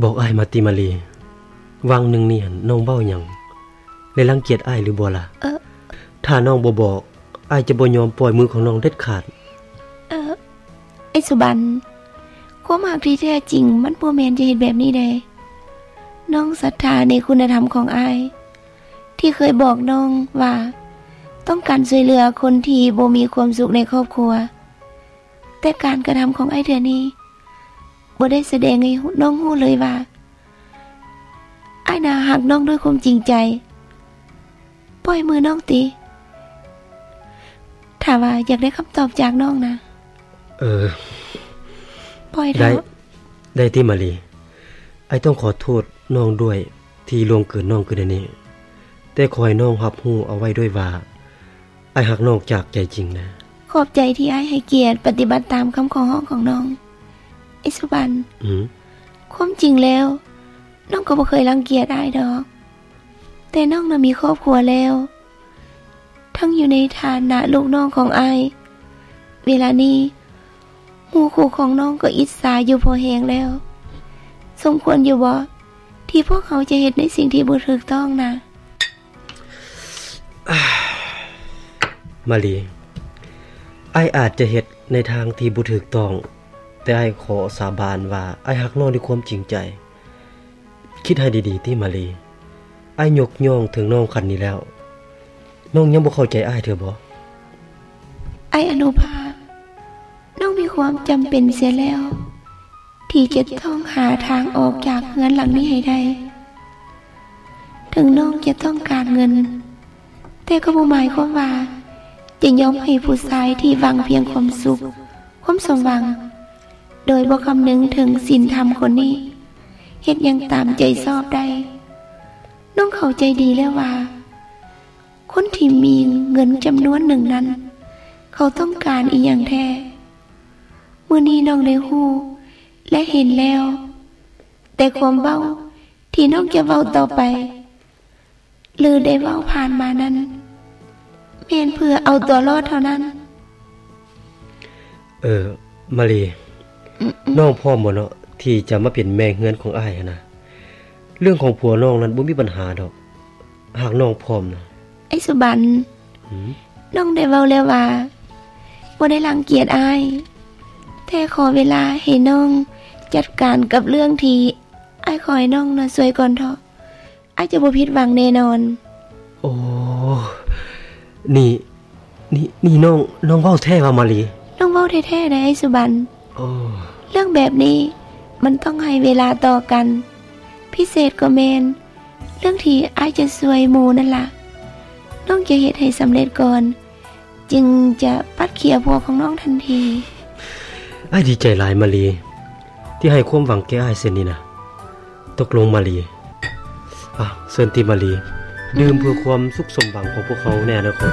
ບອກອ້າຍມາຕິມາລີ, ຫວ່າງໜຶ່ງນີ້ຫັ້ນນ້ອງເວົ້າຫຍັງ ແລະລັງກຽດອ້າຍຫຼືບໍ່ລະ? ເອີ ຖ້ານ້ອງບໍ່ບອກ, ອ້າຍຈະບໍ່ຍອມປ່ອຍມືຂອງນ້ອງເດັດຂາດ. ເອີ ໄອ້ສຸບັນ, ຄວາມຮັກທີ່ແທ້ຈິງມັນບໍ່ແມ່ນຈະເຮັດແບບນີ້ເດ້. ນ້ອງສັດທາໃນຄຸນນະທຳຂອງອ້າຍ ທີ່ເຄີຍບອກນ້ອງວ່າຕ້ອງການຊ່ວຍເຫຼືອຄົນທີ່ບໍ່ມີຄວາມສຸກໃນຄອບຄົວ, ແຕ່ການກະທຳຂອງອ້າຍເທື່ອນີ້ ບໍ່ໄດ້ສະແດງໃຫ້ນ້ອງຮູ້ເລີຍວ່າ ອ້າຍນະຮັກນ້ອງດ້ວຍຄວາມຈິງໃຈ. ປ່ອຍມືນ້ອງຕິ. ຖ້າວ່າຢາກໄດ້ຄຳຕອບຈາກນ້ອງນະ. ເອີ ປ່ອຍເຖາະ. ໄດ້ ໄດ້ຕິມາລີ. ອ້າຍຕ້ອງຂໍໂທດນ້ອງດ້ວຍທີ່ລ່ວງເກີນນ້ອງຂຶ້ນອັນນີ້, ແຕ່ຂໍໃຫ້ນ້ອງຮັບຮູ້ເອົາໄວ້ດ້ວຍວ່າ ອ້າຍຮັກນ້ອງຈາກໃຈຈິງນະ. ຂອບໃຈທີ່ອ້າຍໃຫ້ກຽດປະຕິບັດຕາມຄຳຂໍຮ້ອງຂອງນ້ອງ. ໄອ້ສຸບັນ, ອືມ? ຄວາມຈິງແລ້ວ ນ້ອງກໍບໍ່ເຄີຍລັງກຽດອ້າຍດອກ, ແຕ່ນ້ອງນະມີຄອບຄົວແລ້ວ, ທັງຢູ່ໃນຖານະລູກນ້ອງຂອງອ້າຍ. ເວລານີ້ ໝູ່ຄູ່ຂອງນ້ອງກໍອິດສາຢູ່ພໍແຮງແລ້ວ. ສົມຄວນຢູ່ບໍ່ ທີ່ພວກເຮົາຈະເຮັດໃນສິ່ງທີ່ບໍ່ຖືກຕ້ອງນະ? ມາລີ, ອ້າຍອາດຈະເຮັດໃນທາງທີ່ບໍ່ຖືກຕ້ອງ, ແຕ່ອ້າຍຂໍສາບານວ່າ ອ້າຍຮັກນ້ອງດ້ວຍຄວາມຈິງໃຈ. ຄິດໃຫ້ດີໆຕິມາລີ, ອ້າຍຍົກຍ້ອງເຖິງນ້ອງຂັ້ນນີ້ແລ້ວ, ນ້ອງຍັງບໍ່ເຂົ້າໃຈອ້າຍເທື່ອບໍ່? ອ້າຍອະນຸພາ, ນ້ອງມີຄວາມຈຳເປັນເສຍແລ້ວ ທີ່ຈະຕ້ອງຫາທາງອອກຈາກເຮືອນຫຼັງນີ້ໃຫ້ໄດ້. ເຖິງນ້ອງຈະຕ້ອງການເງິນ, ແຕ່ກໍບໍ່ໝາຍຄວາມວ່າຈະຍອມໃຫ້ຜູ້ຊາຍທີ່ຫວັງພຽງຄວາມສຸກ, ຄວາມສົມຫວັງ, ໂດຍບໍ່ຄຳນຶງເຖິງສິນທຳຄົນນີ້ ເຮັດຫຍັງຕາມໃຈຊອບໄດ້. ນ້ອງເຂົ້າໃຈດີແລ້ວວ່າ ຄົນທີ່ມີເງິນຈຳນວນໜຶ່ງນັ້ນ ເຂົາຕ້ອງການອີ່ຫຍັງແທ້. ມື້ນີ້ນ້ອງໄດ້ຮູ້ ແລະ ເຫັນແລ້ວ, ແຕ່ຄວາມເວົ້າທີ່ນ້ອງຈະເວົ້າຕໍ່ໄປ ຫຼື ໄດ້ເວົ້າຜ່ານມານັ້ນ ແມ່ນເພື່ອເອົາຕົວລອດເທົ່ານັ້ນ. ເອີ ມາລີ, ອືມໆ ນ້ອງພ້ອມບໍ່ເນາະ ທີ່ຈະມາເປັນແມ່ເຮືອນຂອງອ້າຍຫັ້ນນະ? ເລື່ອງຂອງຜົວນ້ອງນັ້ນບໍ່ມີບັນຫາດອກ, ຫາກນ້ອງພ້ອມນະ. ໄອ້ສຸບັນ, ອືມ? ນ້ອງໄດ້ເວົ້າແລ້ວວ່າ ບໍ່ໄດ້ລັງກຽດອ້າຍ, ແຕ່ຂໍເວລາໃຫ້ນ້ອງຈັດການກັບເລື່ອງທີ່ອ້າຍຂໍໃຫ້ນ້ອງນະຊ່ວຍກ່ອນເຖາະ. ອ້າຍຈະບໍ່ຜິດຫວັງແນ່ນອນ. ໂອ້ ນີ້ ນີ້ ນີ້ນ້ອງ ນ້ອງເວົ້າແທ້ຫວາມາລີ? ນ້ອງເວົ້າແທ້ໆໃດ໋ອ້າຍສຸບັນ. ໂອ້ ເລື່ອງແບບນີ້ມັນຕ້ອງໃຫ້ເວລາຕໍ່ກັນ, ພິເສດກໍແມ່ນເລື່ອງທີ່ອ້າຍຈະຊ່ວຍໝູ່ນັ້ນລະ. ນ້ອງຈະເຮັດໃຫ້ສຳເລັດກ່ອນ ຈຶ່ງຈະປັດເຄຍຜົວຂອງນ້ອງທັນທີ. ອ້າຍດີໃຈຫຼາຍມາລີ ທີ່ໃຫ້ຄວາມຫວັງແກ່ອ້າຍເຊັ່ນນີ້ນະ. ຕົກລົງມາລີ. ອ່ະ ເຊີນຕິມາລີ ດື່ມເພື່ອຄວາມສຸກສົມຫວັງຂອງພວກເຮົາໃນອະນາຄົດ.